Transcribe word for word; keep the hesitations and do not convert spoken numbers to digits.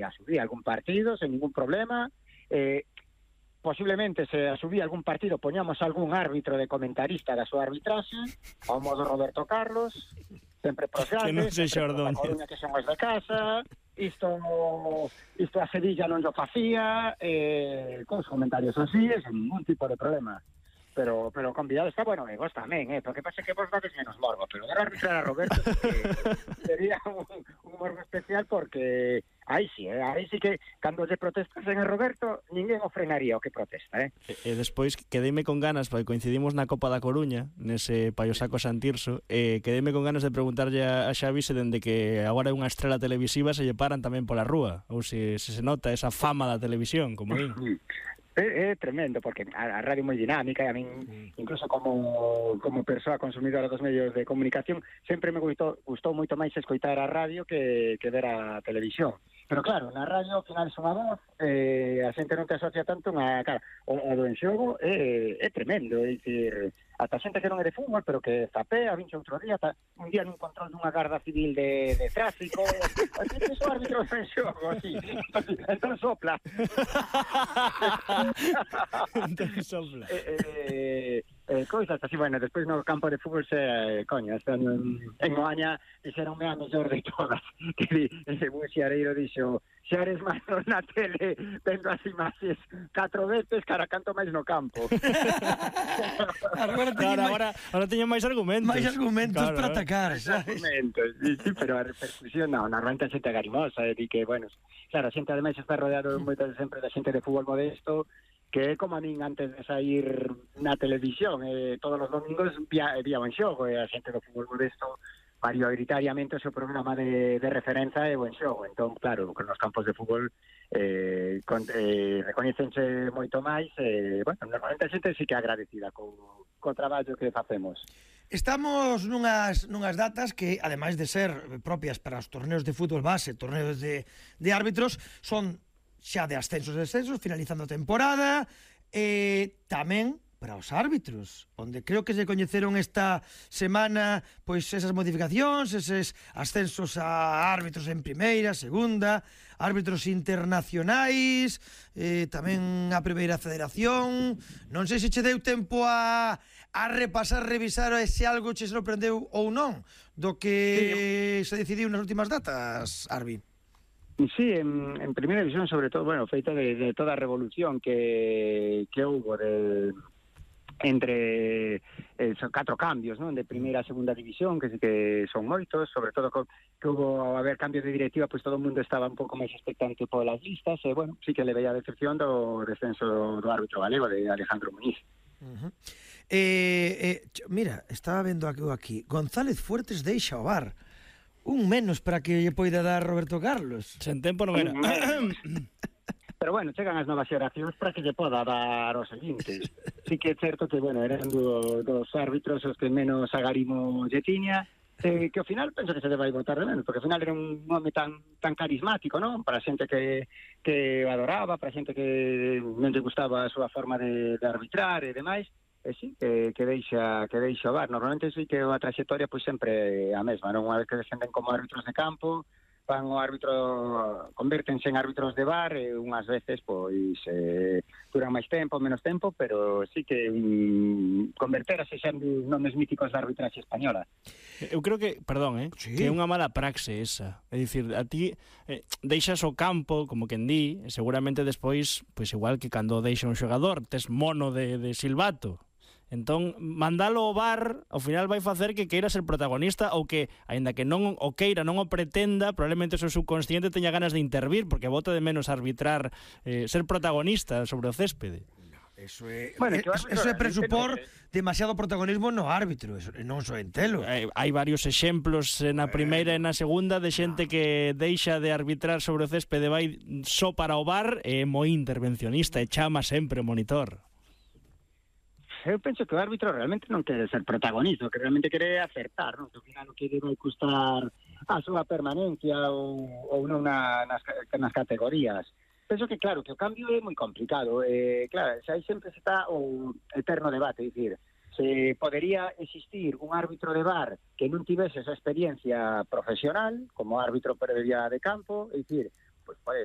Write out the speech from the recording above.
a subir algún partido sen ningún problema, eh, posiblemente se a subir algún partido poñamos algún árbitro de comentarista da súa arbitraxe, ao modo Roberto Carlos, sempre pros grandes, sempre pros da Coruña que son os de casa, isto isto a Sevilla non lo facía, eh, con os comentarios así, sen ningún tipo de problema. Pero pero convidado está, bueno, e vos tamén, eh, porque pasa que vos dades menos morbo, pero dar a arbitrar a Roberto sería un, un morbo especial porque aí sí, eh, aí sí que cando lle protestasen a Roberto ninguén o frenaría o que protesta, eh. E, e despois quedeime con ganas, porque coincidimos na Copa da Coruña, nese Paiosaco Santirso, e quedeime con ganas de preguntarlle a, a Xavi se dende que agora é unha estrela televisiva se lle paran tamén pola rúa, ou se, se se nota esa fama da televisión, como din. É, é tremendo, porque a, a radio é moi dinámica e a min, incluso como como persoa consumidora dos medios de comunicación, sempre me gustou, gustou moito máis escoitar a radio que, que ver a televisión. Pero claro, na radio ao final son a voz, eh, a xente non te asocia tanto unha cara. O, o do enxogo é, é tremendo, é dicir, ata xente que non é de fútbol, pero que zapea, vinche outro día, ta, un día nun control dunha garda civil de, de tráfico, así que son árbitros de enxogo, así, entón sopla. entón sopla. eh, eh, eh, cousas así, bueno, despois no campo de fútbol se, eh, coño, este ano en, en Oaña dixeronme a mellor de todas, que di, ese buen xareiro dixo, xa eres máis na tele vendo as imaxes catro veces cara canto máis no campo. Agora teño claro, máis, agora, agora teño máis argumentos. máis argumentos claro, para atacar, sabes? Argumentos, sí, sí, pero a repercusión non, normalmente a xente agarimosa, e di que, bueno, claro, a xente ademais está rodeado moito sempre da xente de fútbol modesto, que é como a min antes de sair na televisión, eh, todos os domingos vía, vía en xogo, e a xente do fútbol modesto maioritariamente o seu programa de, de referencia é o en xogo, entón, claro, con os campos de fútbol eh, con, eh, recoñecense moito máis, eh, bueno, normalmente a xente sí que é agradecida co, co traballo que facemos. Estamos nunhas, nunhas datas que, ademais de ser propias para os torneos de fútbol base, torneos de, de árbitros, son xa de ascensos e descensos, finalizando a temporada, e tamén para os árbitros, onde creo que se coñeceron esta semana pois esas modificacións, eses ascensos a árbitros en primeira, segunda, árbitros internacionais, eh, tamén a primeira federación. Non sei se che deu tempo a, a repasar, revisar se algo che sorprendeu ou non do que sí, se decidiu nas últimas datas, Arbi. Sí, en, en primeira división, sobre todo, bueno, feita de, de toda a revolución que, que houve de, entre eh, son catro cambios, non? De primeira a segunda división, que sí que son moitos, sobre todo co, que houve ao haber cambios de directiva, pois pues todo o mundo estaba un pouco máis expectante polas listas, e, bueno, sí que le veía a decepción do descenso do árbitro galego, de Alejandro Muñiz. Uh-huh. eh, eh, mira, estaba vendo aquí, aquí González Fuertes deixa o V A R. Un menos para que lle poida dar Roberto Carlos. Sen tempo non era. Pero bueno, chegan as novas xeracións para que lle poda dar os seguintes. Sí que é certo que, bueno, eran do, dos árbitros os que menos agarimo lle tiña, eh, que ao final penso que se debe votar de menos, porque ao final era un nome tan tan carismático, non? Para xente que, que adoraba, para xente que non lle gustaba a súa forma de, de arbitrar e demais. E sí, que, que deixa que deixa o V A R. Normalmente sí que a traxectoria pois sempre a mesma, non? Unha vez que descenden como árbitros de campo, van o árbitro, convértense en árbitros de V A R, e unhas veces pois eh, duran máis tempo, menos tempo, pero sí que um, converterase xa en nomes míticos da arbitraxe española. Eu creo que, perdón, eh, sí, que é unha mala praxe esa. É dicir, a ti eh, deixas o campo, como quen di, e seguramente despois, pois igual que cando deixa un xogador, tes mono de, de silbato. Entón, mandalo ao V A R ao final vai facer que queira ser protagonista, ou que, aínda que non o queira, non o pretenda, probablemente o seu subconsciente teña ganas de intervir, porque bota de menos arbitrar, eh, ser protagonista sobre o céspede. Eso é, bueno, eso, eso é presupor demasiado protagonismo no árbitro, eso non só en telo. Hai, hai varios exemplos na primeira e na segunda de xente que deixa de arbitrar sobre o céspede, vai só para o V A R, e é moi intervencionista e chama sempre o monitor. Eu penso que o árbitro realmente non quere ser protagonista, que realmente quere acertar, non? Que ao final non quere vai custar a súa permanencia ou, ou non na, nas, nas categorías. Penso que, claro, que o cambio é moi complicado. Eh, claro, xa aí sempre se está o eterno debate, é dicir, se podería existir un árbitro de V A R que non tivese esa experiencia profesional, como árbitro previa de campo, é dicir, pues pode